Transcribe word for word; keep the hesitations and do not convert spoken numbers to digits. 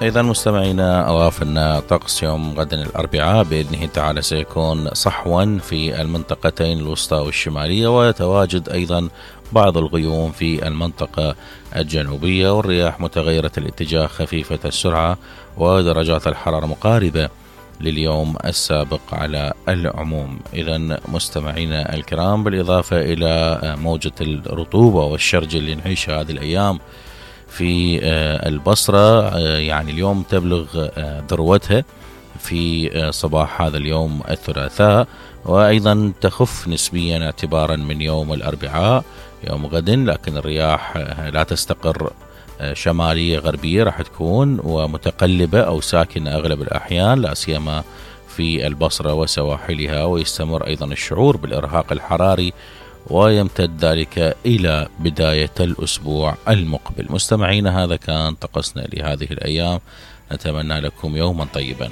إذا مستمعينا أضاف أن طقس يوم غد الأربعاء بإذنه تعالى سيكون صحوا في المنطقتين الوسطى والشمالية، ويتواجد أيضا بعض الغيوم في المنطقة الجنوبية، والرياح متغيرة الاتجاه خفيفة السرعة، ودرجات الحرارة مقاربة لليوم السابق على العموم. إذا مستمعينا الكرام، بالإضافة إلى موجة الرطوبة والشرج اللي نعيشها هذه الأيام في البصرة، يعني اليوم تبلغ ذروتها في صباح هذا اليوم الثلاثاء، وأيضا تخف نسبيا اعتبارا من يوم الأربعاء يوم غد، لكن الرياح لا تستقر شمالية غربية، راح تكون ومتقلبة أو ساكنة أغلب الأحيان، لا سيما في البصرة وسواحلها، ويستمر أيضا الشعور بالإرهاق الحراري ويمتد ذلك إلى بداية الأسبوع المقبل. مستمعين، هذا كان طقسنا لهذه الأيام، نتمنى لكم يوما طيبا.